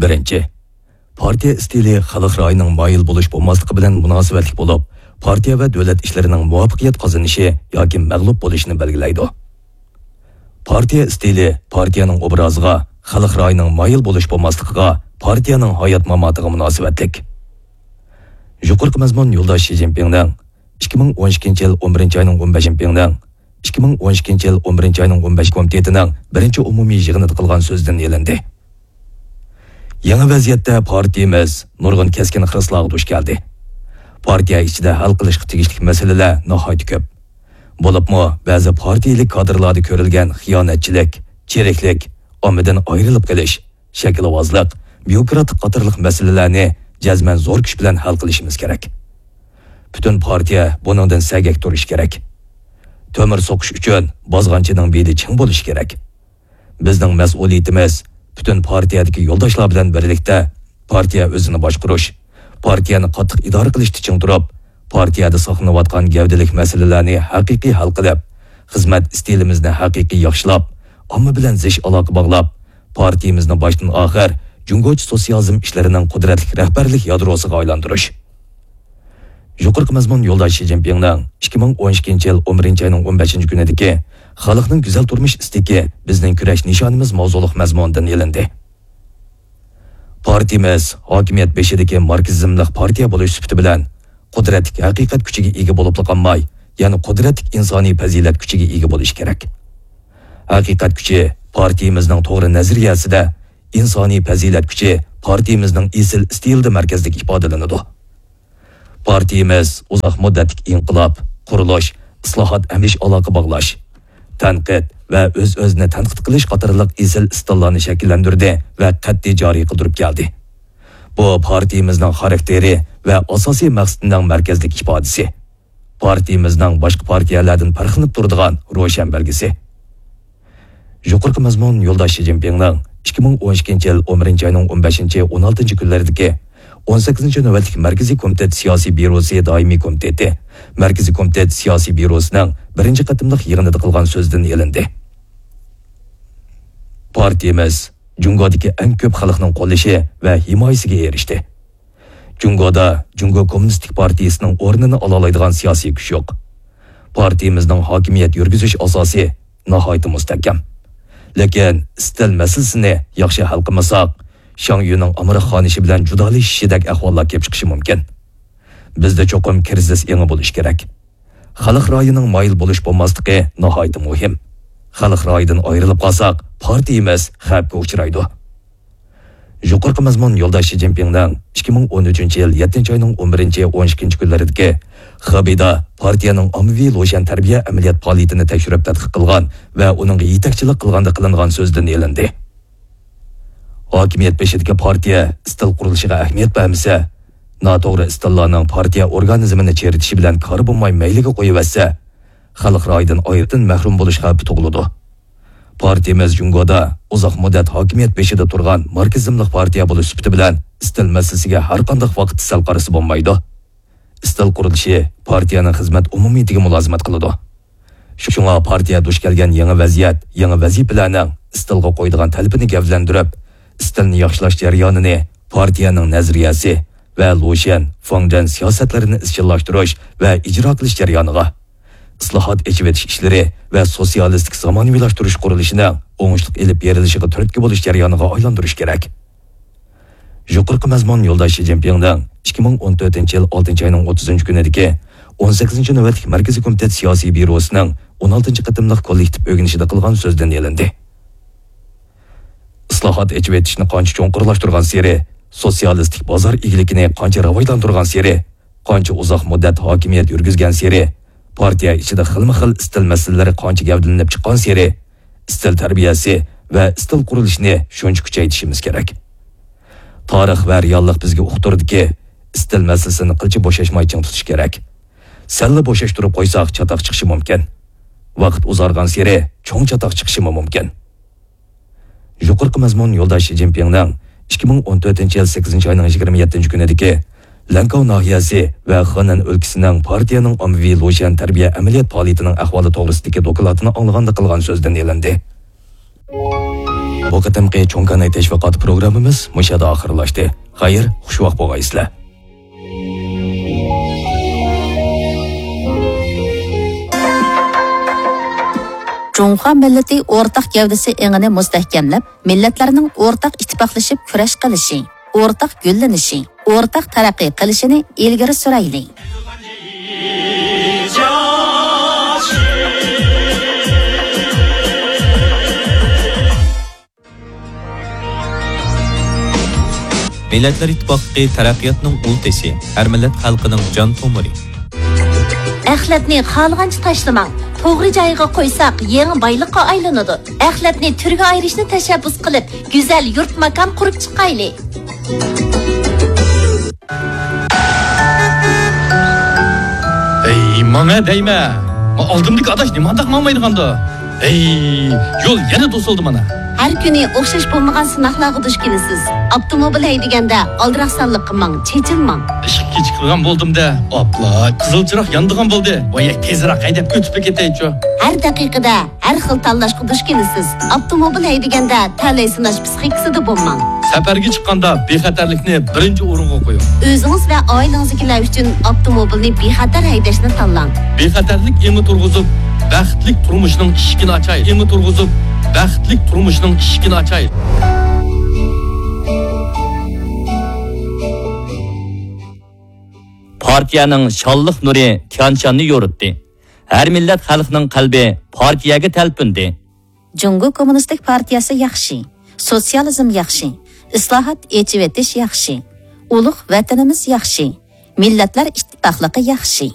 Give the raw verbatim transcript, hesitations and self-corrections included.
بىرىنچى، پارتىيە ئىستىلى خەلق رايىنىڭ مايىل بولۇش بولماسلىقى بىلەن مۇناسىۋەتلىك بولۇپ، پارتىيە ۋە دۆلەت ئىشلىرىنىڭ مۇۋەپپەقىيەت قازىنىشى ياكى مەغلۇپ بولۇشىنى بەلگىلەيدۇ. پارتىيە ئىستىلى پارتىيەنىڭ ئوبرازىغا، خەلق رايىنىڭ مايىل بولۇش بولماسلىقىغا، پارتىيەنىڭ ھايات-ماماتىغا مۇناسىۋەتلىك. يۇقىرىقى مەزمۇن يولداش شى جىنپىڭنىڭ ئىككى مىڭ ئون ئىككىنچى يىل ئون بىرىنچى ئاينىڭ ئون بەشىنچى، ئىككى مىڭ ئون ئىككىنچى يىل ئون بىرىنچى ئاينىڭ ئون بەشىنچى كومىتېتىنىڭ بىرىنچى ئومۇمىي يىغىنىدا قىلغان سۆزىدىن ئېلىندى. يېڭى ۋەزىيەتتە پارتىيىمىز نۇرغۇن كەسكىن خىرىسلارغا دۇچ كەلدى. پارتىيە ئىچىدە ھەل قىلىشقا تېگىشلىك مەسىلىلەر ناھايىتى كۆپ. بولۇپمۇ بەزى پارتىيىلىك كادىرلاردا كۆرۈلگەن خىيانەتچىلىك، چىرىكلىك، ئاممىدىن ئايرىلىپ قېلىش، شەكىلۋازلىق، بيۇروكراتلىق قاتارلىق مەسىلىلەرنى جەزمەن زور كۈچ بىلەن ھەل قىلىشىمىز كېرەك. پۈتۈن پارتىيە بۇنىڭدىن سەگەك تۇرۇشى كېرەك. تۆمۈر سوقۇش ئۈچۈن بازغانچىنىڭ بېلى چىڭ بولۇشى كېرەك. بىزنىڭ مەسئۇلىيىتىمىز پۈتۈن پارتىيەدىكى يولداشلار بىلەن بىرلىكتە پارتىيە ئۆزىنى باشقۇرۇش، پارتىيەنى قاتتىق ئىدارە قىلىشتا چىڭ تۇرۇپ، پارتىيەدە ساقلىنىۋاتقان گەۋدىلىك مەسىلىلەرنى ھەقىقىي ھەل قىلىپ، خىزمەت ئىستىلىمىزنى ھەقىقىي ياخشىلاپ، ئامما بىلەن زىچ ئالاقە باغلاپ، پارتىيىمىزنى باشتىن ئاخىر جۇڭگوچە سوتسىيالىزم ئىشلىرىنىڭ قۇدرەتلىك رەھبەرلىك يادروسىغا ئايلاندۇرۇش. يۇقىرىقى مەزمۇن يولداش شى جىنپىڭنىڭ ئىككى مىڭ ئون ئىككىنچى يىل ئون بىرىنچى ئاينىڭ ئون بەشىنچى كۈنىدىكى خەلقنىڭ گۈزەل تۇرمۇش ئىستىكى بىزنىڭ كۈرەش نىشانىمىز ماۋزۇلۇق مەزمۇنىدىن ئېلىندى. پارتىيىمىز ھاكىمىيەت بېشىدىكى ماركسىزملىق پارتىيە بولۇش سۈپىتى بىلەن قۇدرەتلىك ھەقىقەت كۈچىگە ئىگە بولۇپلا قالماي، يەنە قۇدرەتلىك ئىنسانىي پەزىلەت كۈچىگە ئىگە بولۇشى كېرەك. ھەقىقەت كۈچى پارتىيىمىزنىڭ توغرا نەزەرىيەسىدە، ئىنسانىي پەزىلەت كۈچى پارتىيىمىزنىڭ ئېسىل ئىستىلىدا مەركەزلىك ئىپادىلىنىدۇ. پارتىيىمىز ئۇزاق مۇددەتلىك ئىنقىلاب، قۇرۇلۇش، ئىسلاھات ھەم ئىش ئالاقە باغلاش، تەنقىد ۋە ئۆز-ئۆزىنى تەنقىد قىلىش قاتارلىق ئېسىل ئىستىللارنى شەكىللەندۈردى ۋە قەتئىي جارى قىلدۇرۇپ كەلدى. بۇ پارتىيىمىزنىڭ خاراكتېرى ۋە ئاساسىي مەقسىتىنىڭ مەركەزلىك ئىپادىسى. پارتىيىمىزنىڭ باشقا پارتىيەلەردىن پەرقلىنىپ تۇرىدىغان روشەن بەلگىسى. يۇقىرىقى مەزمۇن يولداش شى جىنپىڭنىڭ ئىككى مىڭ ئون ئىككىنچى يىل ئون بىرىنچى ئاينىڭ ئون بەشىنچى، ئون ئالتىنچى كۈنلىرىدىكى ئون سەككىزىنچى نۆۋەتلىك مەركىزىي كومىتېت سىياسىي بيۇروسى دائىمىي كومىتېتى، مەركىزىي كومىتېت سىياسىي بيۇروسىنىڭ بىرىنچى قېتىملىق يىغىنىدا قىلغان سۆزىدىن ئېلىندى. پارتىيىمىز جۇڭگودىكى ئەڭ كۆپ خەلقنىڭ قوللىشى ۋە ھىمايىسىگە ئېرىشتى. جۇڭگودا جۇڭگو كوممۇنىستىك پارتىيىسىنىڭ ئورنىنى ئالالايدىغان سىياسىي كۈچ يوق. پارتىيىمىزنىڭ ھاكىمىيەت يۈرگۈزۈش ئاساسى ناھايىتى مۇستەھكەم. لېكىن ئىستىل مەسىلىسىنى ياخشى ھەل قىلمىساق، شاڭ يۈنىڭ ئامراق خانىشى بىلەن جۇدالىشىشىدەك ئەھۋاللار كېلىپ چىقىشى مۇمكىن. بىزدە چوقۇم كىرىزىس ئېڭى بولۇشى كېرەك. خەلق رايىنىڭ مايىل بولۇش بولماسلىقى ناھايىتى مۇھىم. خەلق رايىدىن ئايرىلىپ قالساق، پارتىيىمىز خەۋپكە ئۇچرايدۇ. يۇقىرىقى مەزمۇن يولداش شى جىنپىڭنىڭ ئىككى مىڭ ئون ئۈچىنچى يىل يەتتىنچى ئاينىڭ ئون بىرىنچى، ئون ئىككىنچى كۈنلىرىدىكى خېبېيدا پارتىيەنىڭ ئاممىۋى لۇشيەن تەربىيە ئەمەلىيەت پائالىيىتىنى تەكشۈرۈپ تەتقىق قىلغان ۋە ئۇنىڭغا يېتەكچىلىك قىلغاندا قىلىنغان سۆزىدىن ئېلىندى. ھاكىمىيەت بېشىدىكى پارتىيە ئىستىل قۇرۇلۇشىغا ئەھمىيەت بەرمىسە، ناتوغرا ئىستىللارنىڭ پارتىيە ئورگانىزمىنى چىرىتىشى بىلەن كارى بولماي مەيلىگە قويۇۋەتسە، خەلق رايىدىن ئايرىقتىن مەھرۇم بولۇش خەۋپى تۇغۇلىدۇ. پارتىيىمىز جۇڭگودا ئۇزاق مۇددەت ھاكىمىيەت بېشىدا تۇرغان ماركسىزملىق پارتىيە بولۇش سۈپىتى بىلەن ئىستىل مەسىلىسىگە ھەر قانداق ۋاقىتتا سەل قارىسا بولمايدۇ. ئىستىل قۇرۇلۇشى پارتىيەنىڭ خىزمەت ئومۇمىيىتىگە مۇلازىمەت قىلىدۇ. شۇڭا پارتىيە دۇچ كەلگەن يېڭى ۋەزىيەت، يېڭى ۋەزىپىلەرنىڭ ئىستىلغا قويىدىغان تەلىپىنى گەۋدىلەندۈرۈپ، ئىستىلنى ياخشىلاش جەريانىنى پارتىيەنىڭ نەزەرىيەسى ۋە لۇشيەن، فاڭجەن سىياسەتلىرىنى ئىزچىللاشتۇرۇش ۋە ئىجرا قىلىش جەريانىغا، ئىسلاھات، ئېچىۋېتىش ئىشلىرى ۋە سوتسىيالىستىك زامانىۋىلاشتۇرۇش قۇرۇلۇشىنىڭ ئوڭۇشلۇق ئېلىپ بېرىلىشىغا تۈرتكە بولۇش جەريانىغا ئايلاندۇرۇش كېرەك. يۇقىرىقى مەزمۇن يولداش شى جىنپىڭنىڭ ئىككى مىڭ ئون تۆتىنچى يىل ئالتىنچى ئاينىڭ ئوتتۇزىنچى كۈنىدىكى ئون سەككىزىنچى نۆۋەتلىك مەركىزىي كومىتېت سىياسىي بيۇروسىنىڭ ئون ئالتىنچى قېتىملىق كوللېكتىپ ئۆگىنىشىدە قىلغان سۆزىدىن ئېلىندى. ئىسلاھات، ئېچىۋېتىشنى قانچە چوڭقۇرلاشتۇرغانسېرى، سوتسىيالىستىك بازار ئىگىلىكىنى قانچە راۋاجلاندۇرغانسېرى، قانچە ئۇزاق مۇددەت ھاكىمىيەت يۈرگۈزگەنسېرى، پارتىيە ئىچىدە خىلمۇ خىل ئىستىل مەسىلىلىرى قانچە گەۋدىلىنىپ چىققانسېرى، ئىستىل تەربىيەسى ۋە ئىستىل قۇرۇلۇشىنى شۇنچە كۈچەيتىشىمىز كېرەك. تارىخ ۋە رېئاللىق بىزگە ئۇقتۇردىكى، ئىستىل مەسىلىسىنى قىلچە بوشاشماي چىڭ تۇتۇش كېرەك. سەللا بوشاشتۇرۇپ قويساق، چاتاق چىقىشى مۇمكىن. ۋاقىت ئۇزارغانسېرى چوڭ چاتاق چىقىشىمۇ مۇمكىن. يۇقىرىقى مەزمۇن يولداش شى جىنپىڭنىڭ ئىككى مىڭ ئون تۆتىنچى يىل سەككىزىنچى ئاينىڭ يىگىرمە يەتتىنچى كۈنىدىكى لەنكاۋ ناھىيەسى ۋە خېنەن ئۆلكىسىنىڭ پارتىيەنىڭ ئاممىۋى لۇشيەن تەربىيە ئەمەلىيەت پائالىيىتىنىڭ ئەھۋالى توغرىسىدىكى دوكلاتىنى ئاڭلىغاندا قىلغان سۆزىدىن ئېلىندى. بۇ قېتىمقى چوڭ كاناي تەشۋىقات پروگراممىمىز مۇشۇ يەردە ئاخىرلاشتى. خەير، خۇشۋاق بولغايسىلەر. جۇڭخۇا مىللىتى ئورتاق گەۋدىسى ئېڭىنى مۇستەھكەملەپ، مىللەتلەرنىڭ ئورتاق ئىتتىپاقلىشىپ كۈرەش قىلىشى، ئورتاق گۈللىنىشى، ئورتاق تەرەققىي قىلىشىنى ئىلگىرى سۈرەيلى. مىللەتلەر ئىتتىپاقلىقى تەرەققىياتنىڭ ئۇل تېشى، ھەر مىللەت خەلقىنىڭ جان تومۇرى. ئەخلەتنى خالىغانچە تاشلىماڭ. توغرا جايىغا قويساق، يېڭى بايلىققا ئايلىنىدۇ. ئەخلەتنى تۈرگە ئايرىشنى تەشەببۇس قىلىپ، گۈزەل يۇرت-ماكان قۇرۇپ چىقايلى. ھەي، ماڭە دەيمە. ما ئالدىمدىكى ئاداش نېمانداق ماڭمايدىغاندۇ؟ ھەي، يول يەنە توسۇلدى مانا. ھەر كۈنى ئوخشاش بولمىغان سىناقلارغا دۇچ كېلىسىز. ئاپتوموبىل ھەيدىگەندە ئالدىراق سانلىققا ماڭ، چېچىلماڭ. ئىشقا كېچىكىدىغان بولدۇم-دە. ئاپلا، قىزىل چىراغ يانىدىغان بولدى. ۋاي، تېزراق ھەيدەپ ئۆتۈپلا كېتەيچۇ. ھەر دەقىقىدە ھەر خىل تاللاشقا دۇچ كېلىسىز. ئاپتوموبىل ھەيدىگەندە تەلەي سىناش پىسخىكىسىدا بولماڭ. سەپەرگە چىققاندا بىخەتەرلىكنى بىرىنچى ئورۇنغا قويۇڭ. ئۆزىڭىز ۋە ئائىلىڭىزدىكىلەر ئۈچۈن ئاپتوموبىلنى بىخەتەر ھەيدەشنى تاللاڭ. بىخەتەرلىك ئېڭى تۇرغۇزۇپ، بەختلىك تۇرمۇشنىڭ ئىشىكىنى ئاچاي. ئېڭى تۇرغۇزۇپ، بەختلىك تۇرمۇشنىڭ ئىشىكىنى ئاچاي. پارتىيەنىڭ شانلىق نۇرى تيەنشاننى يورۇتتى. ھەر مىللەت خەلقنىڭ قەلبى پارتىيەگە تەلپۈندى. جۇڭگو كوممۇنىستىك پارتىيەسى ياخشى، سوتسىيالىزم ياخشى، ئىسلاھات، ئېچىۋېتىش ياخشى، ئۇلۇغ ۋەتىنىمىز ياخشى، مىللەتلەر ئىتتىپاقلىقى ياخشى.